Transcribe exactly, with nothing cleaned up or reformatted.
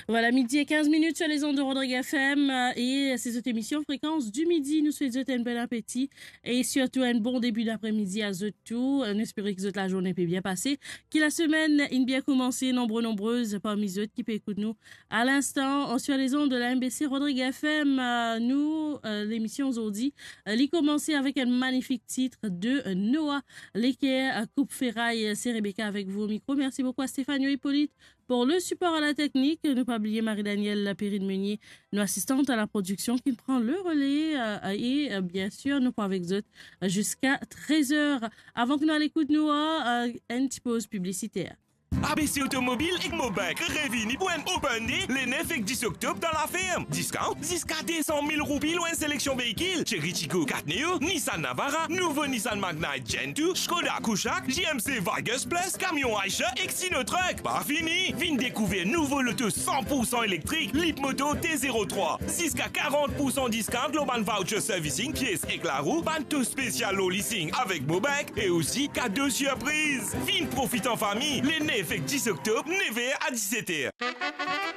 Vwala, midi e kinz minit sur les ondes de Rodrigue F M, euh, e se zot emisyon Fréquence du Midi. Nou swet zot enn bon apeti e sirtou enn bon debi dapremidi a zot tou. Euh, nou espere ki zot lazourne pe bien pase, ki lasemenn inn bien koumanse. Nonbre, nonbrez parmi zot ki pe ekout nou a linstan, euh, sur les ondes de la M B C Rodrigue F M. Euh, nou, euh, lemisyon zordi, euh, li koumanse avek enn manifik tit de, euh, Noah Leker, euh, Koup Feray. Euh, se Rebecca avek vou o mikro. Mersi boukou a Stéphanie Hippolyte pour le support à la technique. Nou pa bliye Marie-Danielle Lapérine Meunier, nou asistant à la production, ki pran le relais, euh, e, euh, bien sûr, nou pou avek zot, euh, ziska trez er. Avan ki nou al ekout nou, euh, enn ti poz piblisiter. A B C Automobile ek Mobank revini pou enn open day le nef ek dis oktob dan Laferm. Discount ziska de san mil roupi lor enn seleksion veikil, Chery Tiggo kat Neo, Nissan Navara, nouvo Nissan Magnite Gen two, Skoda Kushaq, J M C Vargus Plus, kamion Eicher ek Sinotruk. Pa fini, vinn dekouver nouvo loto san pour san elektrik, Leapmoto T zero trwa, ziska karant pour san discount lor bann voucher servicing, pies ek larou, bann to spesial lor leasing avek Mobank e osi kado sirpriz. Vinn profit an fami, le nef ek dis oktob, nef er a diset er.